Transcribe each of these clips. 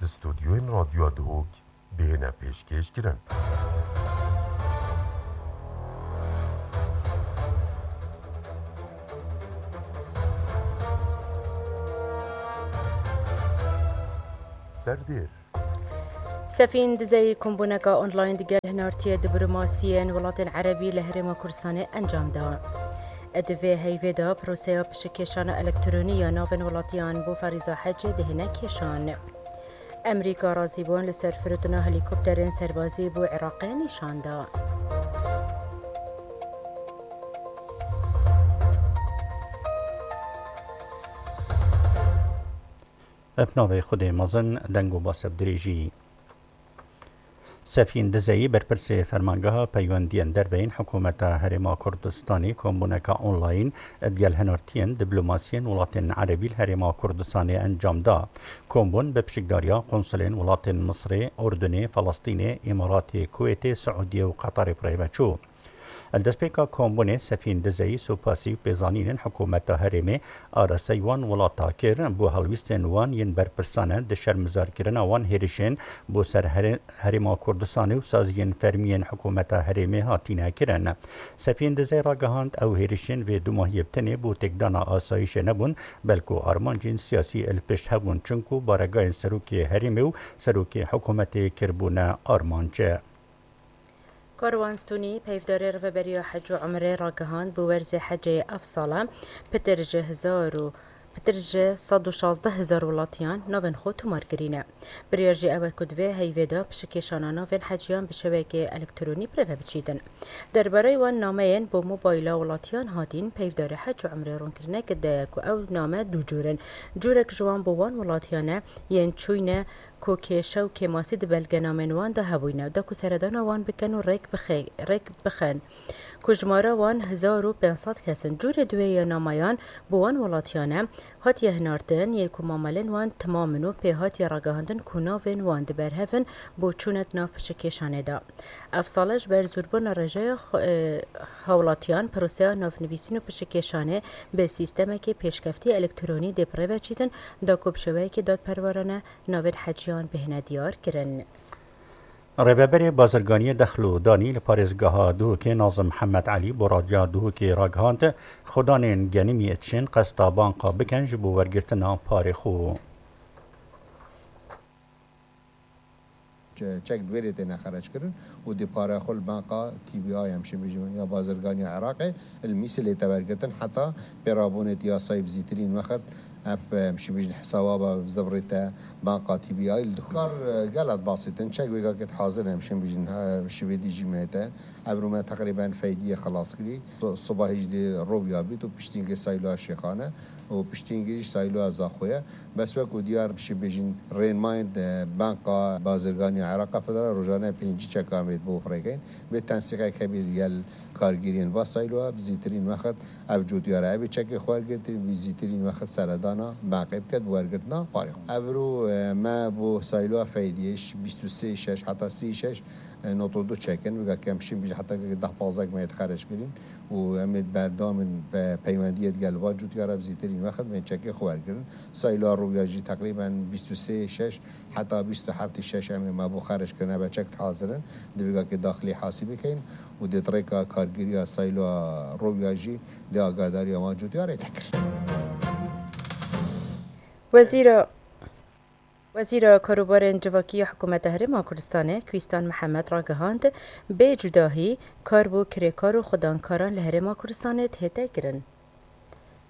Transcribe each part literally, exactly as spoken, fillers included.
Li stûdyoyên Radyoya Duhok bihêne pêşkêş kirin. Serdêr. Sefîn Dizeyî kombûneka online digel hinartiyê diplomasiyên welatên erebî li Herêma Kurdistanê encam da. Di vê heyvê de proseya pişikêşana elektronî ya navên welatiyan bo ferîza hecê dihêne kêşan. Amerîka razîbûn li ser firotina helîkopterên serbazî bo Iraqê nîşan da. Bi navê Xwedê mezin, deng û basa bi dirêjî. Sefîn Dizeyî, berpirsê Fermangeha Peywendiyên Derve yên Hikûmeta Herêma Kurdistanê, kombûneka online digel hinartiyên diplomasiyên welatên erebî li Herêma Kurdistanê encam da. Kombûn bi pişikdariya konsulên welatên Misrê, Urdunê, Felestînê, Îmaratê, Kuwêtê, Siûdiyê û Qeterê bi rê ve çû. Li destpêka kombûnê Sefîn Dizeyî supasî û pêzanînên hikûmeta herêmê, arasteyî wan welata kir, bo helwîstên wan yên berpirsane di şermizarkirina wan hêrişên bo ser herê-, Herêma Kurdistanê û saziyên fermî yên hikûmeta herêmê hatine kirin. Sefîn Dizey ragihand, ew hêrişên vê dumahiyê bi tenê bo têkdana asayîşê nebûn, belku armancên siyasî li pişt hebûn, çinku baregayên serokê herêmê û serokê hikûmetê kiribûne armanc. Karwan Stûnî, peyvdarê Rêveberiya Hec û Umrê ragihand, bi werzê hecê ev sala pitir ji hezar û pitir ji sed û şazdeh hezar welatiyan navên xwe tomar kirîne. Biryar jî ew e ku di vê heyvê de pişikêşana navên heciyan bi şewekê elektronî bi rê ve biçîtin. Derbareyê wan nameyên bo mobayla welatiyan hatîn, peyvdarê Hec û Umrê rûn kirine ku de ku ew name du cûr in. Cûrek ji wan bo wan welatiyan e yên çûyne ku kêşe û kêmasî di belgenamên wan de hebûyne, da ku seredana wan bikin û rêk bixe-, rêk bixin, ku jimara wan hezar û pênc sed kes in. Cûrê duwê ya namayan bo wan welatiyan e, hatiye hinartin, yê ku mamelên wan temam in û pê hatiye ragihandin ku navên wan di berhev in bo çûne di nav pişikêşanê de. Ev sale ji ber zûrbûna rêjeya xwe-, e, hawlatiyan, proseya navnivîsîn û pişikêşanê bi sîstemekê pêşkeftî elektronî dê bi rê ve çîtin, da ku bi şêweyekê dadperwerane navên heciyan bihêne diyar kirin. Rêveberê Bazirganiyê Dexl û Danî li parêzgeha Duhokê Nazim Mihemed Elî bo Radyoya Duhokê ragihand, xwedanên genimî dişên qesta banka bikin ji bo wergirtina parê xwe. Çe-, çek di vê rê têne xerec kirin û di para xwe li banka T B I em şê bêjin ya bazirganiya Iraqê li Mîsilê te wergirtin heta pêrabûnê di yasayê bi zîtirîn wexit ev, em şê bêjin hesaba be zibrî te banka T B I li Duhok. Kar, e, gelek basît in, çek wêga ket hazir em şê bêjin, e, şivê dî jî me te. Evro me teqrîben feydiyê xilas kirî. So-, soba hîjdê roviya bît û piştî ke Sayloya Şêxane û piştî ke jî Sayloya Zaxoye. Bes wek ku diyar şê bêjin rênmayên, e, Banka Bazirganiya Iraqa Federal rojane pêncî çekan vê bo firêkeyn. Vê tensîqek hebî digel kargêriyên va Sayloya bi zîtirîn wexit ev cotiyara evê çekê xwe wergirtin, bi zîtirîn wexit seredana banqê biket bi wergirtina parê xwe. Evro, e, me bo Sayloya Feydiyê bîst û sê şeş heta sî şeş, e, nod û du çekin, wêga ke em şîn bîjin heta ke deh pazdeh me yê xerec kirîn û em ê berdewam in pe-, peywendiyê digel va cotiyara bi zîtirîn wexit bên çekê xwe wergirin. Sayloya Rûya jî teqrîben bîst û sê şeş heta bîst û heft şeş em ê me bo xerc kirine be çek hazir in. Di vêga ke daxilî hasîbê keyin û dê di rêka kargêriya Sayloya Rûya jî dê agahdariya wan cotiyarê te kir. Wezîra, Wezîra Karûbarên Civakî ya Hikûmeta Herêma Kurdistanê Kwîstan Mihemed ragihand, bê cudahî kar bo kirêkar û xwedankaran li Herêma Kurdistanê dihête kirin.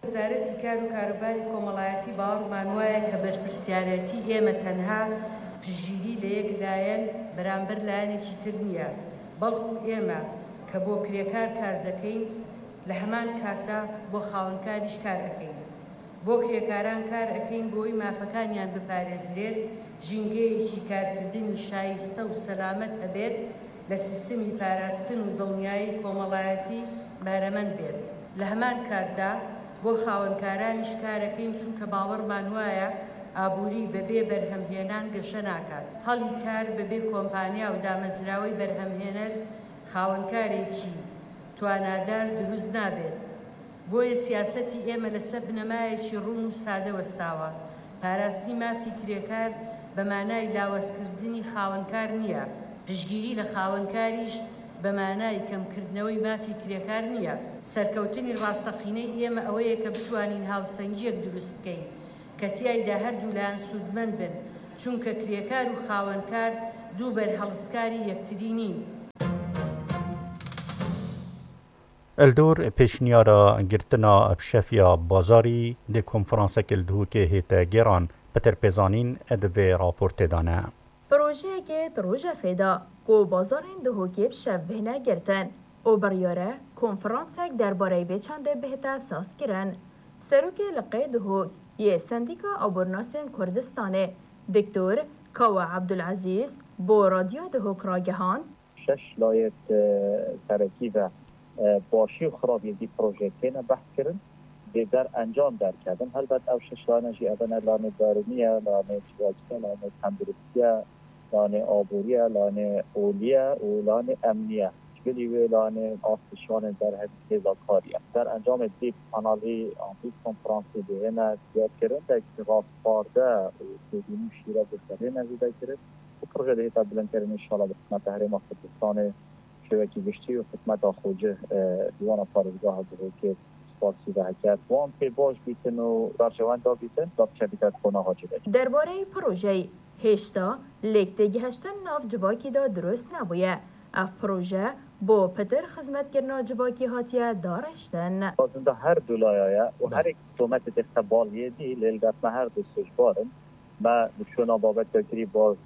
وەزارەتی کار و کاروباری کۆمەڵایەتی باوەڕمان وایە کە بەرپرسیارەتی ئێمە تەنها پشتگیری لە یەک لایەن بەرامبەر لایەنێکی تر نییە، بەڵکو ئێمە کە بۆ کرێکار کار دەکەین، لە هەمان کاتدا بۆ خاوەنکاریش کار ئەکەین. بۆ کرێکاران کار ئەکەین بۆی مافەکانیان بپارێزرێت، ژینگەیەکی کارکردنی شایستە و سەلامەت هەبێت، لە سیستمی پاراستن و دڵنیایی کۆمەڵایەتی بەهرەمەند بێت. لە هەمان کاتدا بۆ خاوەنکارانیش کار ئەکەین، چونکە باوەڕمان وایە ئابووری بەبێ بەرهەمهێنان گەشە ناکات. هەڵی کار بەبێ کۆمپانیا و دامەزراوەی بەرهەمهێنەر خاوەنکارێکی توانادار دروست نابێت. بۆیە سیاسەتی ئێمە لەسەر بنەمایەکی ڕوون و سادە وەستاوە. پاراستنی مافی کرێکار بە مانای لاوازکردنی خاوەنکار نییە. پشتگیری لە خاوەنکاریش بە مانای کەمکردنەوەی مافی کرێکار نییە. سەرکەوتنی ڕاستەقینەی ئێمە ئەوەیە کە بتوانین هاوسەنگیەک دروست بکەین کە تیایدا هەردوو لایەن سوودمەند بن، چونکە کرێکار و خاوەنکار دوو بەرهەڵستکاری یەکتری نین. Li dor pêşniyara girtina bi şev ya bazarî dê konferansek li Duhokê hête gêran. Pitir pê zanîn di vê raportê de ne. Projeyekê di rojevê de ku bazarên Duhokê bi şev bihêne girtin û biryar e konferansek derbareyê vê çendê bihête sazkirin. Serokê Liqê Duhok yê Sendîka Abornasên Kurdistanê Doktor Kawa Ebdulezîz bo Radyoya Duhok ragihand, Şeş layê serekî ve başî û xirabiyê vî projeyê têne behs kirin, dê der encam derkevin. Helbet ew şeş layene jî ev ne, lanê darûnî ye, lanê civakî ye, lanê tenduristî ye, lanê aborî ye, lanê olî ye û lanê emnî ye. Ji bilî wê lanê astiş, lanê derhevî hêza karî ye. Der encamê vî panelî an vî konferansê dihêne diyarkirin, dek rastparde û têbînî û şîre guhdarê ne zêde kirin. Û proje dihête bilindkirin, înşallah bi xizmeta Herêma Kurdistanê şêwekî giştî û xizmeta xwecih di wana parêzgeha Duhokê spasî ve heke wan pê baş bîtin û berjewenda bîtin, da biçe bîte qonaxa civakî. Derbareyê projeyê hêşta lêk têgihiştin nav civakî de dirust nebûye. Ev proje bo pitir xizmetkirina civakî hatiye dariştin. Xwazin de her du laya ye û herêk tometê dixte bal yê dî, lê li dest me her du sûcbar in. Me şûna babet ya kirî baz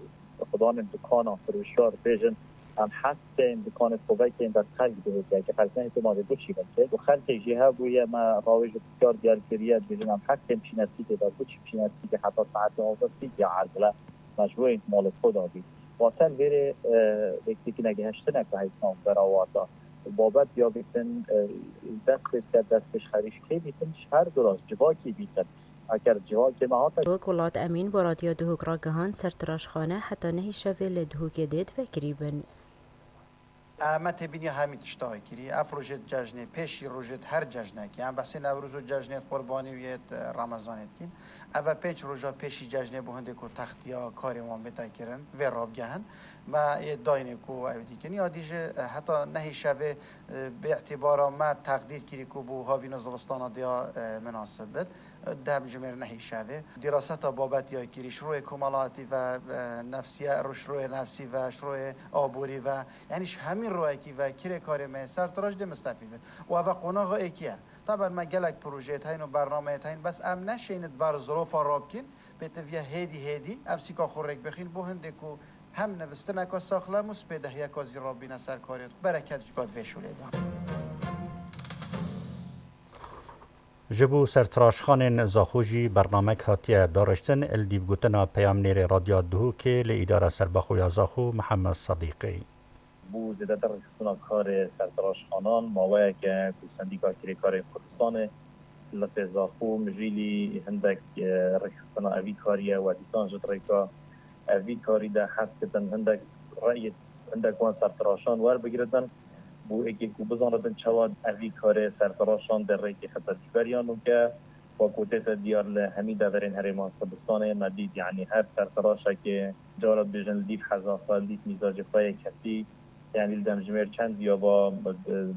xudanên dukana firûşar bêjin, em hez tên dukanê xwe vekên ber xelk bihêtiye, ke xelk nehêtê ma vê biçî veke. Û xelkê jî hebûye me rawêj û pisyar diyar kiriye, dibêjin em hez tên çînesîkê ber biçî çînesîkê heta saetê nozde sî diya erzile, me ji bo malê xwe da bî. Watel vêrê vêktikî negihiştinek ve heyt nav berawata. Babet ya bîtin dest pê dike, dest pêş xerîş kê bîtin, ji her du re civakî bîtin. Eger civakê me hate. Wek Welat Emîn bo Radyoya Duhok ragihand, sertiraşxane heta nehî şevê li Duhokê dê divekirî bin. Me têbîniya hemî tişta kirî. Ev rojêt cejnê, pêşî rojêt her cejnekê. Em behsê Newroz û cejnêt Qurbanî û yêt Remezanê dikîn. Ev e pênc roja pêşî cejnê bo hindê ku textiya karê wan bête kirin, vê rabgehin. Me yê dayînê ku ew dîkin. Ya dî jî heta nehî şevê bi îtîbara me teqdîr kirî ku bo havîna zivistana diya minasib bit. Demjimêr nehî şevê. Dîraseta babet ya kirî, ji royê komelatî ve, nefsiye, ji royê nefsî ve, ji royê aborî ve, yanî ji hemî royekî ve kirêkarê me yê sertiraş dê mistefîd bit. Û ev e qonaxa êkî ye. Taben me gelek projeyêt heyn û bernameyêt heyn, bes em neşênit ber zirofa rabkîn, pêtiviye hêdî hêdî ev sîka xwe rêk bixîn bo hindê ku hem nivistineka saxlem û spêdehiyeka zî rabîne ser karê xwe. Bereket ji gad vê şûlê de. Ji bo sertiraşxanên Zaxo jî bernamek hatiye dariştin, li dîvgotina peyamnêrê Radyoya Duhokê li Îdara Serbixwe ya Zaxo Mihemed Sedîqî. Bo zêdetir rêxistina karê sertiraşxanan maweyek e ku Sendîka Kirêkarên Kurdistanê li Qêzaxo Mijîlî hindek rêxistina evî kariye we dîsan ji rêka evî karî de hez kitin hindek reyê hindek wan sertiraşan werbigiritin. Bo êkê ku bizanitin çawa evî karê sertiraşan dê rêkê xete dijberiya nûke. Wa ku tête diyar li hemî deverên Herêma Kurdistanê me dît, yanî her sertiraşekê cara dibêjin li dîv heza xwe, li dîv mîzacê xwe yê kesî, yanî li demjimêr çend diya ba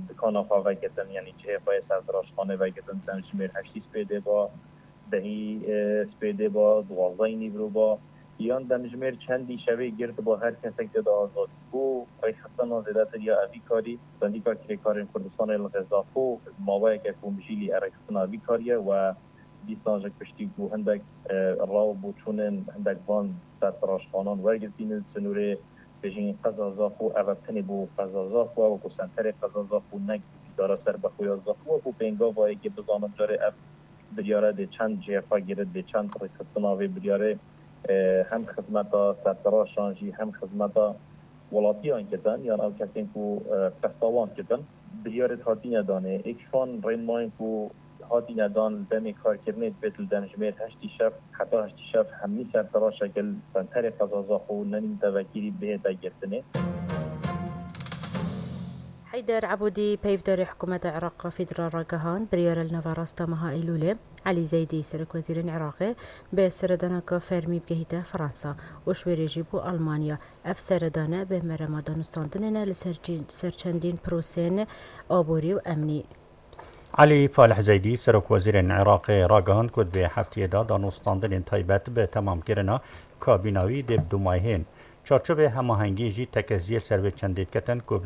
dikana xwe vegitin, yanî cihê xwe yê sertiraşxanê vegitin, demjimêr heştî spêdê ba, dehî spêdê ba, duwazdehî nîvro ba, yan demjimêr çendî şevê girtiba her kesek tê de azad bû. Rêxistina zêdetir ya evî karî, Sendîka Kirêkarên Kurdistanê li Xêzaxo maweyek e ku Mijîlî e rêxistina evî karî ye we dîsan ji piştî ku hindek raw bû çûnên hindek van sertiraşxanan wergirtînin, sinûrê bêjin qeza Zaxo, ev e tenê bo qeza Zaxo e, wekû senterê qeza Zaxo, ne îdara serbixwe ya Zaxo, wekû pêngava yekê bizanin carê ev biryare dê çend cihê xwe girit, dê çend rêxistina vê biryarê hem xizmeta sertiraşan jî hem xizmeta welatiyan kitin, yan ew kesên ku qesta wan kitin. Biryarê hatîne danê, êk şan rên mayîn ku hatîne dan li demê karkirinê dibêt li demjimêr heştî şev heta heştî şev hemî sertiraşeke li senterê qeza Zaxo û nenîn tevekirî bihête girtinê. Heyder Ebûdî, peyvdarê hikûmeta Iraq Federal, ragihand, biryar e li nava rasta meha Eylûlê Elî Zeydî, serokwezîrên Iraqê, bi seredaneke fermî bigehîte Fransa û ji wê rê jî bo Almanya. Ev seredane bi merema danûstandinê ne li ser çî-, ser çendîn prosên aborî û emnî. Elî Falih Zeydî, serokwezîrên Iraqê, ragihand ku di vê heftiyê de danûstandinên taybet bi temamkirina kabîna wî dê bi dûmayhên. Çarçovê hemahengî jî tekeziyê li ser vê çendê diketin ku bi